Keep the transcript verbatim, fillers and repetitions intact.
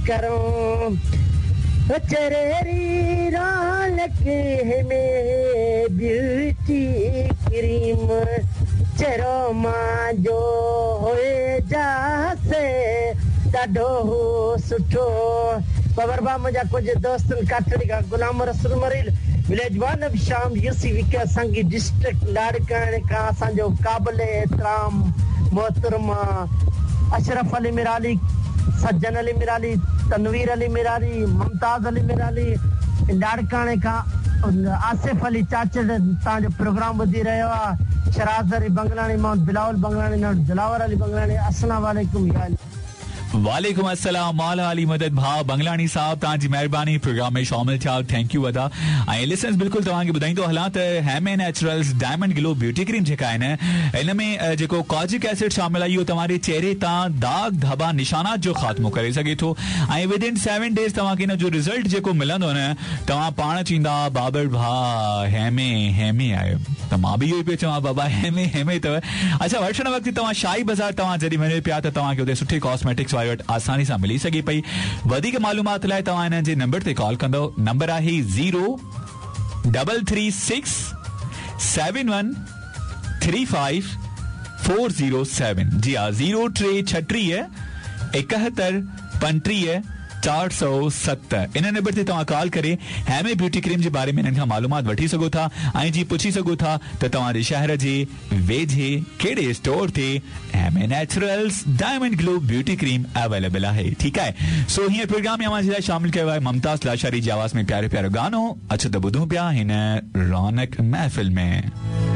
करूं चेहरे री रौनक हेमे ब्यूटी क्रीम चेहरो मांजो होए जासे ॾाढो सुठो। बाबर भाउ मुंहिंजा कुझु दोस्तनि काठड़ी खां गुलाम रसूल मरील विलेज वन शाम यूसी विका संगी डिस्ट्रिक्ट लाड़काणे खां असांजो क़ाबिल एहतराम मोहतरमा अशरफ अली मिराली, सज्जन अली मिराली, तनवीर अली मिराली, मुमताज़ अली मिराली, लाड़काणे खां आसिफ अली चाचड़ तव्हांजो प्रोग्राम ॿुधी रहियो आहे। शराज़ अली बंगलाणी, मां बिलावल बंगलाणी, दिलावर अली बंगलाणी। अस्सलाम वालेकुम। वालेकुम अस्सलाम। मौला अली मदद भाउ बंगलाणी साहब, तव्हांजी महिरबानी प्रोग्राम में शामिल थिया, thank you अदा। ऐं लिसनर्स बिल्कुलु तव्हांखे ॿुधाईंदो हलां त Heme naturals diamond glow beauty cream जेका आहिनि इन में जेको कॉजिक एसिड शामिल आहे इहो तव्हांजे चेहरे तां दाग धबा निशानात जो ख़ात्मो करे सघे थो ऐं विद इन सेवन डेज़ तव्हांखे इन जो रिज़ल्ट जेको मिलंदो न तव्हां पाण चवंदा बाबर भाउ हेमे हेमे आयो। त मां बि इहो ई पियो चवां बाबा हेमे हेमे अथव। अच्छा, वठण वक़्तु तव्हां शाही बाज़ार तव्हां जॾहिं वञो पिया त तव्हांखे हुते सुठी कॉस्मेटिक्स वारे वटि आसानी सां मिली सघे पई। वधीक मालूमात लाइ तव्हां हिननि जे नंबर ते कॉल कंदव। नंबर आहे zero double three six seven one three five four zero seven. जी हा, ज़ीरो टे छटीह एकहतरि पंटीह चार सौ सत। इन नंबर ते तव्हां कॉल करे हेमे ब्यूटी क्रीम जे बारे में हिननि खां मालूमात वठी सघो था ऐं जी पुछी सघो था त तव्हांजे शहर जे वेझे कहिड़े स्टोर ते Heme naturals diamond glow beauty cream available आहे। ठीकु आहे, सो हींअर प्रोग्राम में अव्हां जे लाइ शामिल कयो आहे मुमताज़ लाशारी जी आवाज़ में प्यारो प्यारो गानो। अचो त ॿुधूं पिया हिन रौनक महफ़िल में।